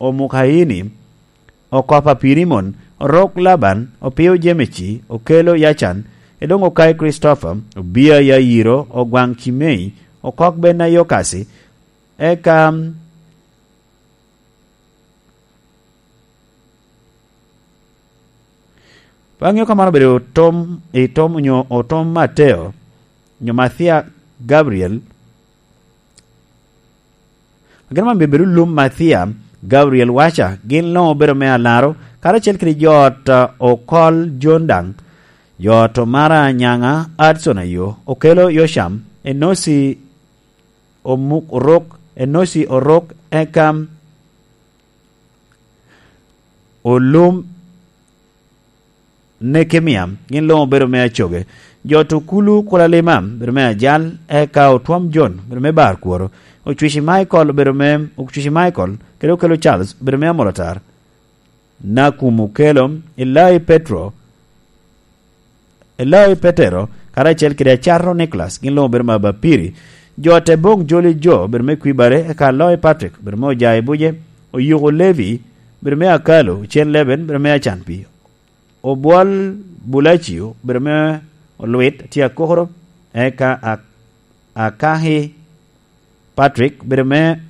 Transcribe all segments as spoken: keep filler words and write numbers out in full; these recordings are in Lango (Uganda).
Omukaini, Okopa Pirimon, Orok Laban, Opio Jemeci, Okelo Yacan, Edoŋ Okai Kricitopher, Obia Yayiro, Ogwaŋ Cimei, Okok Bena Yokasi, eka pe aŋeo ka man obedo otom, i tom onyo otom Mateo, onyo Mathia Gabriel. Ageno man bedo lum Mathia Gabriel Waca, gin luŋ obedo me alaro, karacel kede jo ot, uh, Okol Jon daŋ, jo ot Omara Anyaŋa, Adson Ayo, Okelo Yocam, Enosi Omuk Orok, Enosi Orok, eka Olum Nekemia, gin luŋ obedo me Acoge. Jo ot Okulu Kulalima obedo me Ajal, eka Otwom Jon obedo me Bar Kworo. Ocwici Michael obedo me, Ocwici Michael, kede Okelo Charles obedo me Amolatar. Nakum Okelo, Elai Petro, Elai Petero, karacel kede Acarro Nicholas, gin luŋ obedo me Abapiri. Jo ot Eboŋ Joli Jo obedo me Kwibare, eka Aloi Patrick obedo me Ojayi Buje, Oyuko Levi obedo me Akalo, Ocen Leben obedo me Acanpi. Obwol Bulacio obedo me Olwit, tye Akokoro, eka Ak-, Akahi Patrick obedo me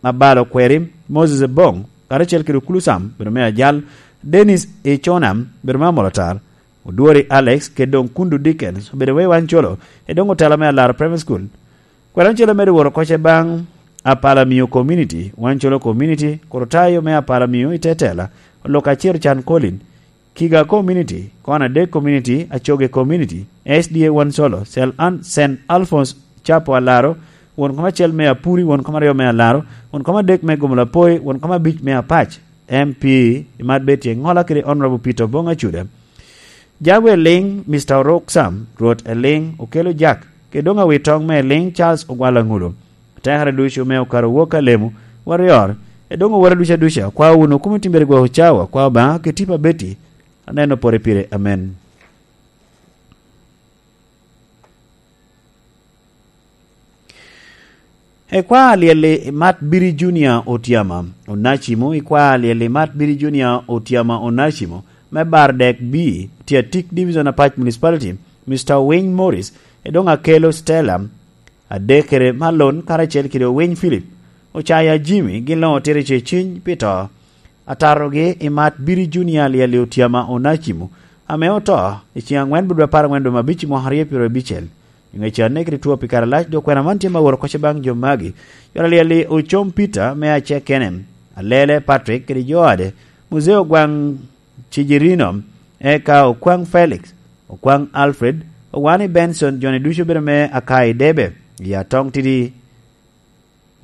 Abalo Kweri, Moses Ebong, karacel kede Okulu Sam obedo me Ajal, Dennis Icona obedo me Amolatar, Odwori Alex, kede doŋ Kundu Dickens obedo me Wancolo, Edoŋ Otela me Alaro Primary School. Kwena ocele medo woro koce baŋ Apalamio Community, Wancolo Community, Korotayo me Apalamio i Tetela, Olok Acero Can Colin, Kiga Community, Kona Dek Community, Acoge Community, S D A Wansolo, Sel An-, Saint Alphonse Chapo Alaro, won kom acel me Apuri, won kom aryo me Alaro, won kom adek me Gomolapoi, won kom abic me Apac, M P, i mat Betty Engola kede Honorable Peter Obong Acuda. Jagwe Eliŋ, Mister Orok Sam, Rwot Eliŋ, Okelo Jack, kede doŋ awitoŋ me Eliŋ Charles Ogwal Aŋulo. Atekere ducu me okaro wok alemo, Warrior, e doŋ owora ducu aduca, kwa wunu kumo timbere gwok cawa, kwa Obaŋa, kede tipo Betty, aneno pore pire, amen. Ekwa alyel i Mat Biri Junior Otyama Onacimo, ekwa alyel i Mat Biri Junior Otyama Onacimo, me Bardek B, Tiatik Division Apac Municipality, Mister Winy Morris, edoŋ Akelo Stella, Adekere Malon, karacel kede Owiny Philip, Ocaya Jimmy, gin luŋ otito i ceciny pi to. Atatogi i Mat Biri Junior alyel i Otyama Onacimo, ame oto i ceŋ aŋwen bot apar aŋwen dwe me abic i mwaka aryo pyero abicel. I ŋec aneke kede two pi kare alac, dok kwena man tye ma woro koc baŋ jo magi. Yot alyel i Ocom Peter me Acekene, Alele Patrick kede jo ade, Muzee Ogwaŋ Cijirino, eka Okwaŋ Felix, Okwaŋ Alfred, Owani Benson, joni ducu obedo me Akai Debe, i Atong Tidi,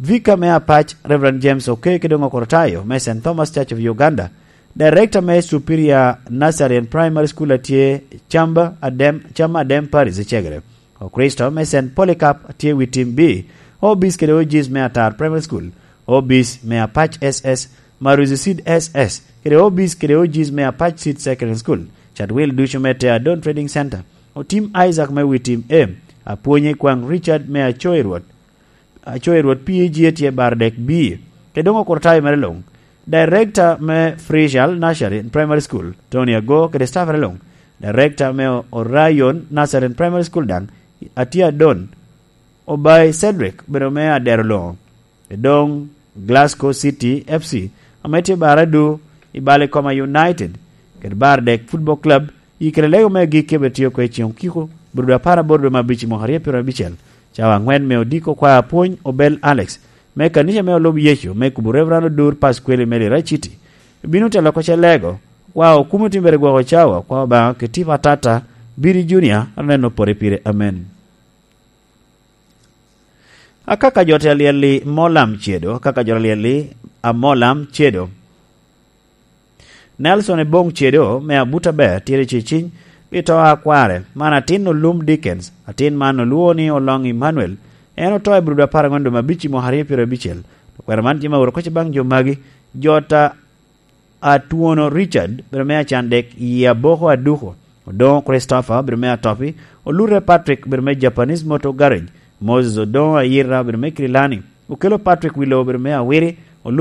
Vika me Apac, Reverend James Okeke doŋ Okorotayo me Saint Thomas Church of Uganda, Director me Superior Nursery and Primary School atye Chamba Adem, Chamba Adem Parish i Cegere. Okristo me Saint Polycarp atye wi tim B, Obis kede Ojis me Atar Primary School, Obis me Apac S S, Maruzi Seed S S, kede Obis kede Ojis me Apac Seed Secondary School, Chatwil ducu me Te Adon Trading Center, Otim Isaac me wi tim A, Apwonye Kwaŋ Richard me Acoyi Rwot, Acoyi Rwot P A G atye Bardek B, kede doŋ Okurtayo mere luŋ. Director me Frishal Nursery and Primary School, Tony Ago, kede staff mere luŋ. Director me Orion Nursery and Primary School daŋ, atye Adon, Obai Cedric, obedo me Adero Loŋo. Edoŋ Glasgow City F C, ame tye Baradu i Balikoma United, kede Bardek Football Club, i kede lego me agikki ame tye oko i ceŋ okiko, bot dwe apar aboro dwe me abic i mwaka aryo pyero abicel, cawa aŋwen me odiko kwa apwony Obel Alex, me kanica me olub Yecu, me kubo Reverend Odur Pasqueli me Lira City. Bino telo oko ce lego, kwa okumo timbere gwoko cawa, kwa Obaŋa kede tipo atata, Biri Junior, aneno pore pire. Amen. Akaka jo te alyel i Molam Cedo, akaka jo alyel i Amolam Cedo. Nelson Ebong Cedo me Abuta ber tye i ceciny pi to a kware. Man atin Olum Dickens, atin man olwoŋo ni Oloŋ Emmanuel. En oto i Burudu apar aŋwen dwe me abic i mwaka aryo pyero abicel. Okwero man tye ma woro koc baŋ jo magi, jo ta Atwono Richard, bedo me Acandek, i Aboko Aduko, Odoŋo Christopher, bedo me Atopi, Olure Patrick, bedo me Japanese Motor Garage, Moses Odoŋo Ayira, bedo me Kirilani, Okelo Patrick Wilo, bedo me Awiri,